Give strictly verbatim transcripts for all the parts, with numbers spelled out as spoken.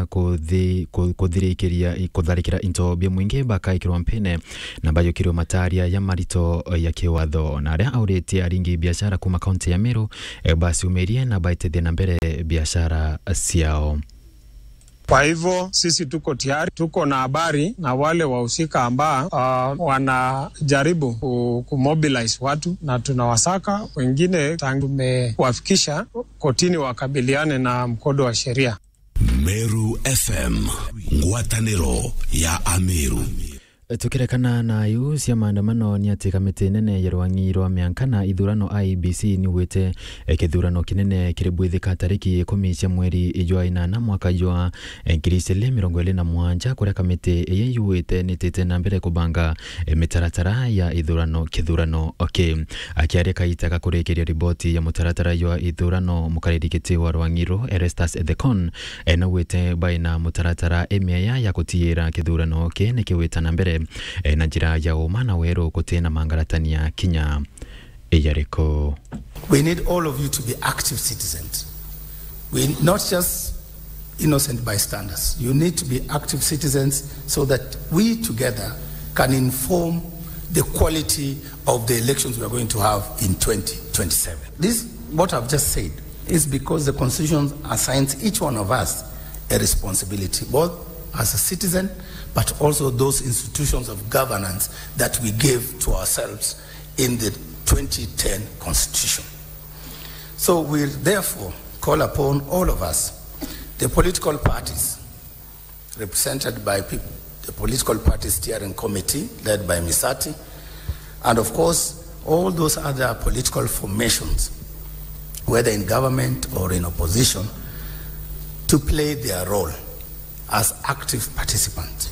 kuthi-, ku-, kuthirikiria, kutharikira into bia mwingi bakaikirwa mpine na bayukirwe mataria ya marito ya kiwatho. Na aria auritie aringi biashara kuma kaunti ya Meru, eh, baciumirie na baitithie na mbere biashara ciao. Kwa hivyo, sisi tuko tayari, tuko na habari na wale wahusika ambao, ah, wanajaribu ku-, kumobilize watu, na tunawasaka. Wengine tangu tumewafikisha kotini wakabiliane na mkondo wa sheria. Meru F M, ngwataniro ya Ameru. Tukirekana na iu cia maandamano, ni ati kamiti nene ya rwang'i rwa mianka na ithurano I E B C niugite, eh, kithurano kinene kiri bwithika tariki ikumi cia mweri jwa inana mwaka jwa, eh, ngiri igiri mirongo iri na mugwanja, kuria kamiti ii yuite nitite na mbere kubanga, eh, mitaratara ya ithurano, kithurano ki. Akiaria kaita ga kurikiria riboti ya mutaratara jwa ithurano, mukariri giti wa rwang'i ru, Erastus Ethekon, eh, naugite baina mutaratara imiaya ya gutiira kithurano ki nikiwita na mbere, eh, na njira ya uma na weru guti na mangaratania kinya iyariku. We need all of you to be active citizens. We, not just innocent bystanders. You need to be active citizens so that we together can inform the quality of the elections we are going to have in twenty twenty-seven. This, what I've just said, is because the Constitution assigns each one of us a responsibility, both as a citizen, but also those institutions of governance that we gave to ourselves in the twenty ten Constitution. So we therefore call upon all of us, the political parties, represented by peop-, the Political Party Steering Committee led by Misati, and of course, all those other political formations, whether in government or in opposition, to play their role as active participants.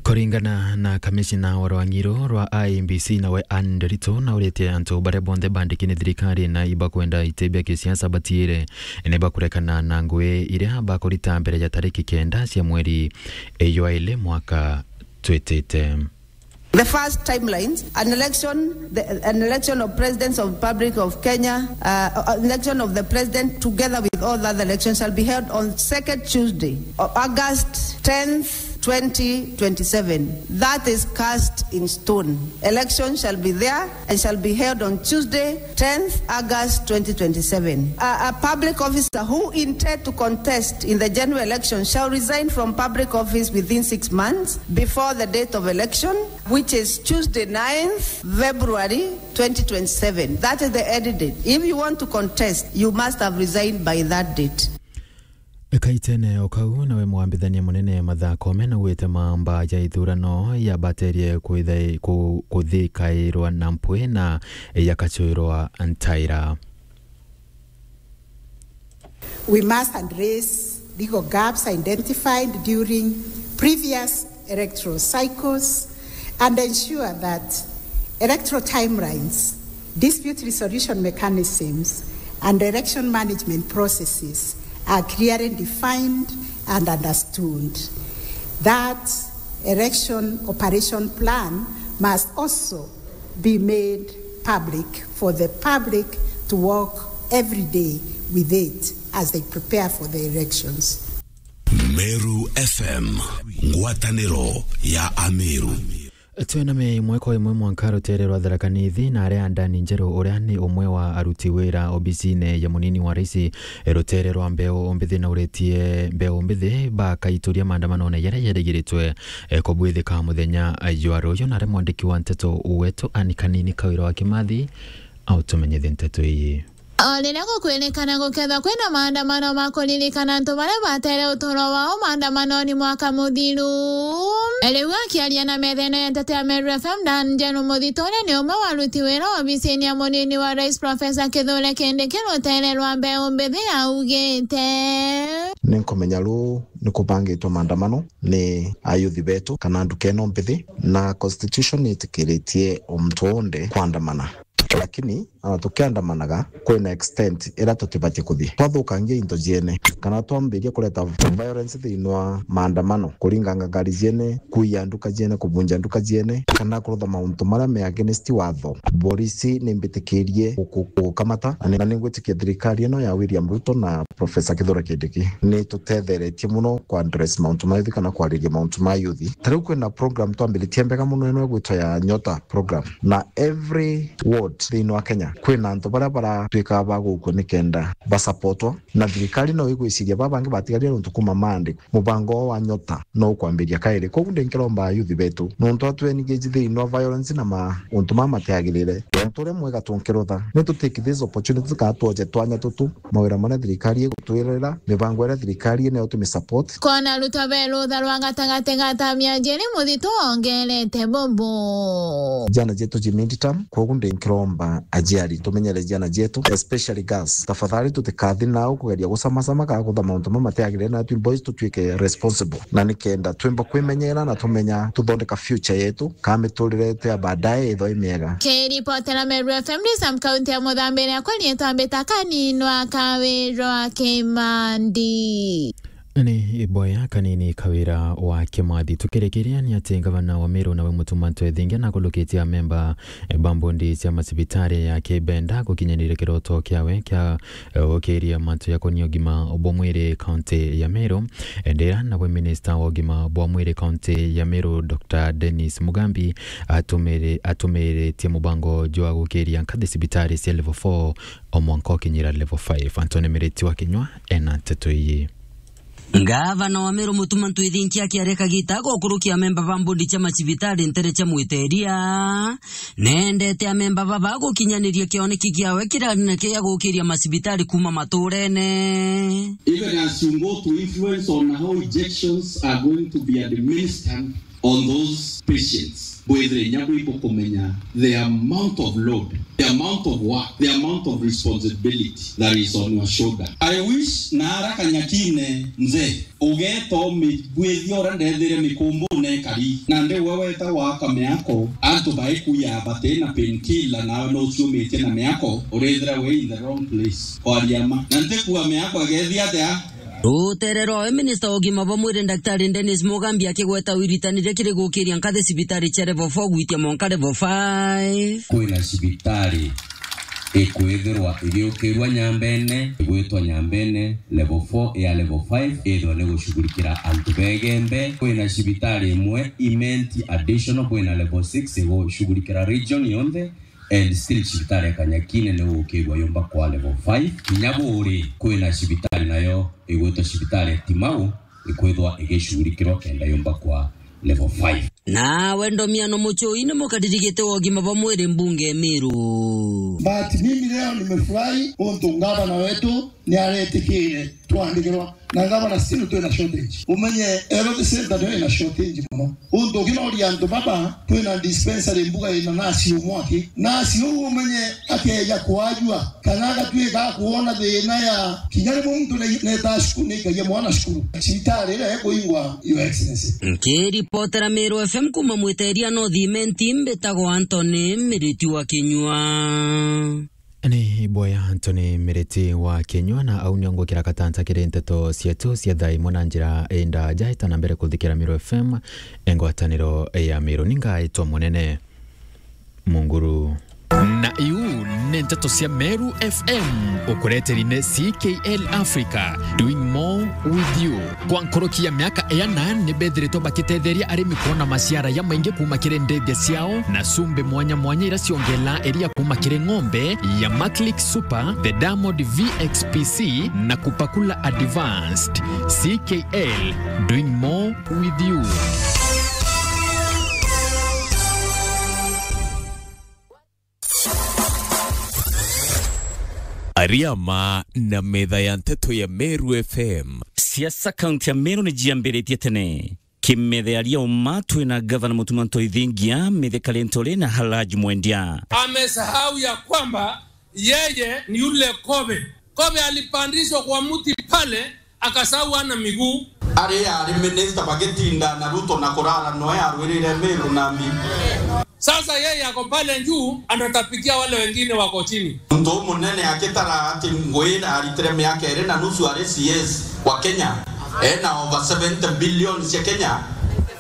Kuringana na kamishina wa rwang'i ru rwa I E B C nawe Anne Nderitu, nauritie antu baria bonthe bandiki ni thirikari na ibakwenda iti bia kisiasa batiire ni bakurekana na ngui iria bakurita mbere ya tariki kenda cia mweri jwa iri mwaka twitite. The first timelines, an election, the, an election of Presidents of Republic of Kenya, uh, uh, election of the President together with all other elections shall be held on second Tuesday of August tenth, twenty twenty-seven. That is cast in stone. Election shall be there and shall be held on Tuesday, tenth August twenty twenty-seven. A, a public officer who intend to contest in the general election shall resign from public office within six months before the date of election, which is Tuesday, ninth February twenty twenty-seven. That is the end date. If you want to contest, you must have resigned by that date. Kaitene o kau, nawe mwambithania munene Martha Koome naugite mamba ya ithurano yabaterie kwitha-, ku-, kuthikairwa na mpwi na yakacwirwa ntaira. We must address legal gaps identified during previous electoral cycles and ensure that electoral timelines, dispute resolution mechanisms, and election management processes are clearly defined and understood. That election operation plan must also be made public for the public to work every day with it as they prepare for the elections. Meru F M, ngwataniro ya Ameru. Twina me imwe kwa imwe mwanka rutere rwa Tharaka Nithi, na aria Dani Njeru, uria ni umwe wa aruti wira obisine ya munini wa raisi, rutere rwa mbeu mbithi, na uritie mbeu mbithi bakaituria maandamanone jaria jarigiritwe, eh, kubwithika muthenya jwa ruyu. Na aria mwandiki wa nteto wetu Anne Kanini Kawira wa Kimathi autumenyithie nteto ii. O riria gukwirikana gukethwa kwina maandamano ma kuririkana antu baria batere uturo wao maandamanoni mwaka muthiru. Riu akiaria na metha ino ya nteto ya Meru F M, Dan Njeru Muthito, uria ni umwe wa aruti wira obisini ya munini wa rais, Professor Kithure Kindiki, rutere rwa mbeu mbithi, augite, Ni nkumenya ruu ni kubangitwe maandamano ni ayuthi betu kana nduka ino mbithi, na constitution ni itikiritie o muntu wonthe kwandamana. Lakini ona tukiandamanaga, kwina extent iria tutibati kuthii twathukangia into ciene, kana twambiria kureta violence thiini wa maandamano, kuringanga ngari ciene, kuiya nduka ciene, kubunja nduka ciene, kana kurutha mauntu maria me against watho. Borisi ni mbitikirie guku-, gukamata, na ni, na ningwitikia thirikari ino ya William Ruto na Professor Kithure Kindiki ni tutetheretie muno ku address mauntu ma youth kana kwariria mauntu ma youth. Ta riu kwina program twambiritie mbega muno ino igwitwa ya Nyota program, na every ward thiini wa Kenya kwina antu baria baratuika ba gukua nikenda basupportwa, na thirikari no igwiciria baba bangi batigarire nontu kuma Monday mubango wao wa Nyota no ukwambiria kairi. Koguo ndi nkiromba youth betu, nontu atu engage thiini wa violence na mauntu mama matiagirire. Nontu uria mwega tunkirutha, ni tu take this opportunity kana twoje twanya tutu, mawira maria thirikari igutwirira, mibango iria thirikari inayo tumi support. Kona rutwa be rutha rwa gatagati ga tamia njiri muthitu ongerete bubu. Jana jetu ji midterm, koguo ndi nkiromba aciari tumenyere ciana cietu, especially girls. Tafadhali tutikathi nau kugeria gucamacama kana kutha mauntu mama matiagirire, na twi boys tutuike responsible, na nikenda twimba kwimenyera na tumenya tuthondeka future yetu, kana miturire yetu ya baadaye ithwa i miega. Kiripotera Meru F M, ndi Sam kaunti ya Muthambiria, kwa riitwa mbita Kaninwa Kawirwa Kimandi. Ni iboya Kanini Kawira wa Kimathi. Tukirikiria ni ati ngavana wa Meru nawe Mutuma Ntwethingia nakulukitie amemba, eh, ba mbondi cia macibitari ya Kibenda gukinyaniria kiroto kiawe kia, eh, gukiria mantu jakonia ugima bwa mwiri kaunti ya Meru. Ndira nawe minista wa ugima bwa mwiri kaunti ya Meru, Doctor Dennis Mugambi, atumiri-, atumiritie mubango jwa gukiria nkathi cibitari cia level four o mwanka ukinyira level five. Anthony Miriti wa Kinyua ena nteto ii. Ngavana wa Meru Mutuma Ntwethingia akiaria kagita ga gukurukia amemba ba mbondi cia macibitari ntere cia Mwiteria, nendete amemba baba gukinyaniria kioneki kiawe kiria kia gukiria macibitari kuma maturene. Even as you go to influence on how injections are going to be administered on those patients, bwithire inya bwibo kumenya the amount of load, the amount of work, the amount of responsibility that is on your shoulder. I wish naara Kanyakine mzee, ugeta umibwithia uria ndethire mikumbune ikari, na ndi we weta waka miako, antu baikuya bati na painkiller, nawe no uciumitie na miako, urithira we in the wrong place. Kwaria ma. Na ntikua miako igethia atia? Rutere rwawe, minista wa ugima bwa mwiri, Daktari Dennis Mugambi, akigweta wiritaniria kiri gukiria nkathi cibitari cia level four gwitia mwanka level five. Kwina cibitari ikwithirwa igiukirua Nyambene, igwitwa Nyambene level four ya level five, ithwa ni gushughulikira antu begembe. Kwina cibitari imwe Imenti additional, kwina level six igushughulikira region yonthe. And still cibitari ya Kanyakine ni gukirua yumba kwa level five. Kinya buri kwina cibitari nayo igwitwa cibitari ya Timau ikwithwa igicurikirwa kenda yumba kwa level five. Nawe Ndomiano Muchui ni mukariri giti wa ugima bwa mwiri mbunge Meru. But mimi leo nimefurahi untu ngavana wetu ni aretikire twandikirwa na ngavana, still twina shortage. Umenye health center niyo ina shortage muno. Untu ukinoria antu baba, twina dispensary mbuga ina nasi umwe aki. Nasi uu umenye akeja kwajua, kana agatuika akuona thina ya kinya rimwe muntu ne-, neta cukuru, nikagia mwana cukuru. Cibitari iria ikuingwa, Your Excellency. Nkiripotera Meru F M kuma Mwiteria North Imenti, mbitagwa Anthony Miriti wa Kinyua. Ni boya Anthony Miriti wa Kinyua, na au nio ngwikira katanta kiri nteto cietu cia thaa imwe na njira indaja. Ita na mbere kuthikira Meru F M, engwataniro ya Meru. Ni ngaitwa Munene Munguru. Na iu ni nteto cia Meru F M, ukureteri ni C K L Africa, doing more with you. Kwa nkuruki ya miaka iana, ni bethiritwe bakitetheria arimi kwona maciara jamaingi kuma kiri ndithia ciao na cumbi mwanya mwanya iria ciongelaa iria kuma kiri ng'ombe ya Maclick Super, the Diamond V X P C na Kupakula Advanced. C K L, doing more with you. Ariama na metha ya nteto ya Meru F M. Siasa kaunti ya Meru ni ciambiritie tene. Kimetha aria uma twina gavana Mutuma Ntwethingia, Mithika Linturi na Halaji Mwendia. Amesahau ya kwamba yeye ni yule kobe. Kobe alipandishwa kwa mti pale, akasahau ana miguu. Ari ari minister bagitinda na Ruto na kurara noe arwirire Meru na mbi. Sasa yeye ako pale juu, anatapikia wale wengine wako chini. Muntu umunene akitara ati Ngui aritire miaka iri na nusu ari C S wa Kenya, ena over seventy billion cia Kenya,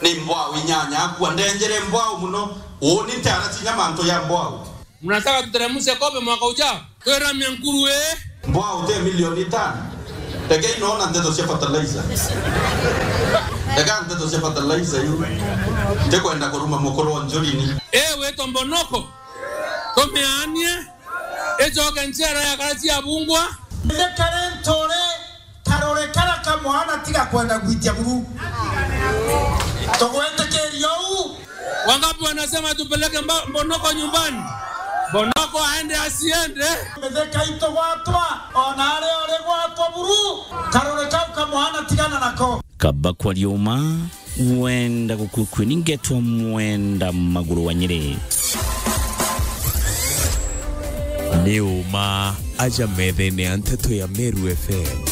ni mbwau inyanya akua ndenjere mbwau muno. Uuni ntiaracinya mantu ya mbwau. Mnataka tuteremshe kobe mwaka ujao? Tweramia nkuru, eh? Mbwau te milioni itano. Rekei noona nteto cia fertilizer. Reka nteto cia fertilizer iu. Ndikwenda kuruma mukuru wa Njurini. Eh, witwa Mbonoko. Tumianie. Icoke ncera ya kaci ya bungwa. Ndikare ntore karore kara kamwana tiga kwenda gwitia buru. Tugwitikiria uu. Wangapi wanasema tupeleke mba-, Mbonoko nyumbani? Mbonoko aende asiende? Mitheka itu gwatwa, ona aria uri gwatwa buru, karore kau kamwana tigana nako. Kaba kwaria uma, wenda gukua kweni ngetwa mwenda maguru wa Nyeri. Ni uma aja methene ya nteto ya Meru F M.